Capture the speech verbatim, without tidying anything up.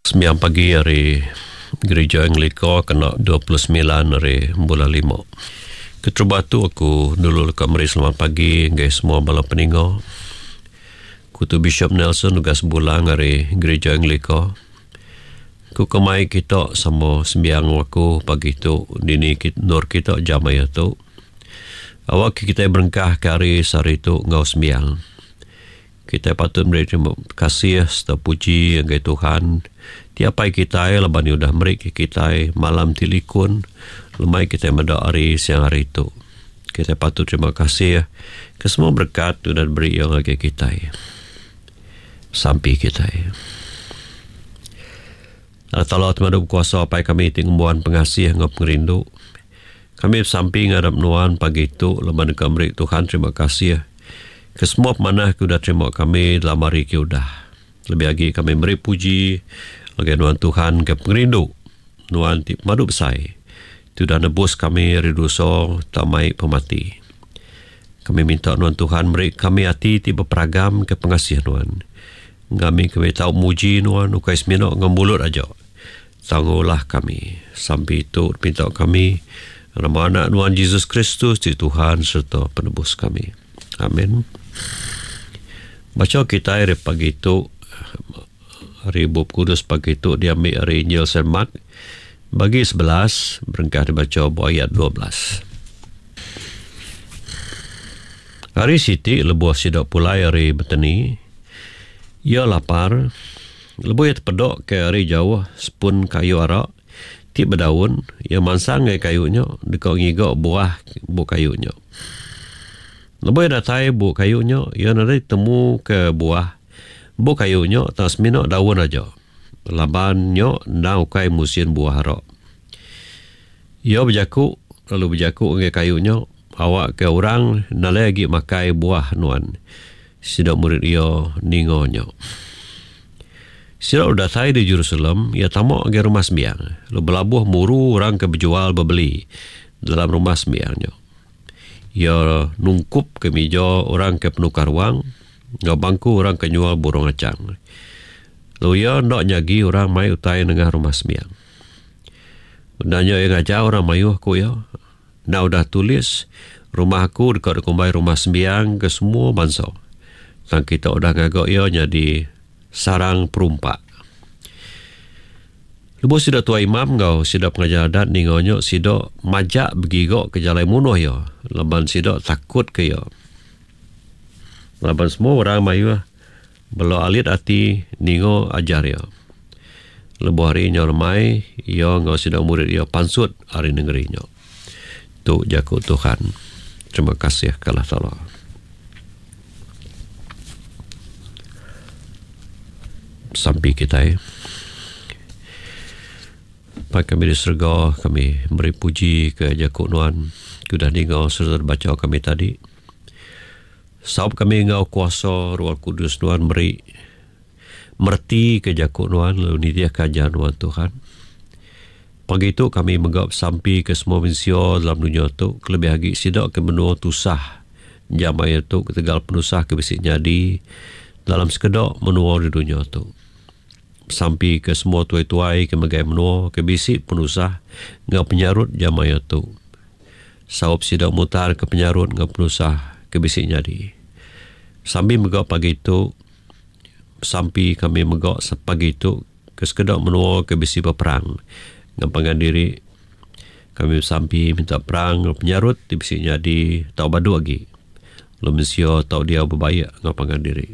Sembiang pagi ari Gereja Anglika kena dua puluh semilan ari bulan lima. Keterubah tu aku dulu leka meri selamat pagi ngagai semua bala peninga. Ku tu Bishop Nelson Ugas Bulang ari Gereja Anglika. Ku kemai kita sama sembiang aku pagi tu dini kit-, nur kita jam aya tu. Awak kita berengkah ke hari sehari tu ngau sembiang. Kita patut beri terima kasih serta puji ngagai Tuhan. Tiap hari kita laban udah meri ke kita malam ti likun, lemai kita meda hari siang hari tu. Kita patut terima kasih ke semua berkat udah diberi yang ngagai kita. Sampi kita. Allah Taala temadu kuasa apai kami ti ngembuan pengasih ngau pengerindu. Kami sampi ngadap nuan pagi tu laban deka meri Tuhan terima kasih ke semua pemanah ke udah terima kami dalam hari ke udah. Lebih lagi kami meri puji ngagai nuan Tuhan ke pengerindu nuan ti pemadu besai. Ti udah nebus kami ari dosa tamai pemati. Kami minta nuan Tuhan meri kami hati ti berperagam ke pengasih nuan. Kami kami tahu muji nuan ukai semina ngau mulut aja. Tanggulah kami. Sampai itu minta kami nama anak nuan Jesus Kristus ti Tuhan serta penebus kami. Amin. Baca kita hari pagi tu, hari Bup Kudus pagi tu diambil hari Injil Saint Mark bagi sebelas berengkah dibaca ayat dua belas. Hari siti lebuh sidak pulai hari beteni, ia lapar, lebuh ia terpedok ke hari jauh sepun kayu arak ti berdaun, ia mansang ke kayunya dekat ngigak buah bu kayunya. Lebuh ia datai bu kayunya, ia nadai temu ke buah bu kayunya tak semina daun aja. Laban nyo ndau kai musim buah arak. Ia berjakuk, lalu berjakuk dengan kayunya, awak ke orang nalai lagi makai buah nuan. Sidak murid ia ningonya. Sidak datai di Jerusalem, ia tamak ke rumah sembiang. Lalu berlabuh muru orang ke berjual berbeli dalam rumah sembiangnya. Ia nungkup ke meja orang ke penukar wang, ngau bangku orang ke nyual burung acang. Lalu ia nak nyagi orang mai utai nengah rumah sembiang. Nanya ia ngajar orang mayuh ku ia. Nak udah tulis rumah aku dekat dekumbai rumah sembiang ke semua bangsa. Tang kita udah ngagak ia jadi sarang perumpak. Lebuh sidak tua imam ngau sidak pengajar adat ningonyo sidak majak bergigok ke jalan munuh ya. Laban sidak takut ke ya. Laban semua orang mayuh belo alit ati ningo ajar ya. Lebuh hari nyo remai ya ngau sidak murid ya pansut hari negeri nyo. Tu jaku Tuhan. Terima kasih ke Allah Taala. Sampai kita ya. Pai kami di serga, kami beri puji ke Jakub Nuan. Sudah dengar serta baca kami tadi. Saub kami ngau kuasa Roh Kudus Nuan beri merti ke Jakub Nuan lalu nitiah kajian Nuan Tuhan. Pagi itu kami menggap sampi ke semua manusia dalam dunia tu, kelebih lagi sidak ke menua tusah jamaya tu ketegal penusah ke bisik nyadi dalam sekedok menua di dunia tu. Sampi ke semua tuai-tuai ke megai menua ke bisik penusah ngau penyarut jamaya tu. Saup sidak mutar ke penyarut ngau penusah ke bisik nyadi. Sampi megak pagi tu, sampi kami megak sepagi tu ke sekedok menua ke bisik berperang ngau pangan diri. Kami sampi minta perang ngau penyarut di bisik nyadi tau badu lagi. Lalu manusia tau dia berbaik ngau pangan diri.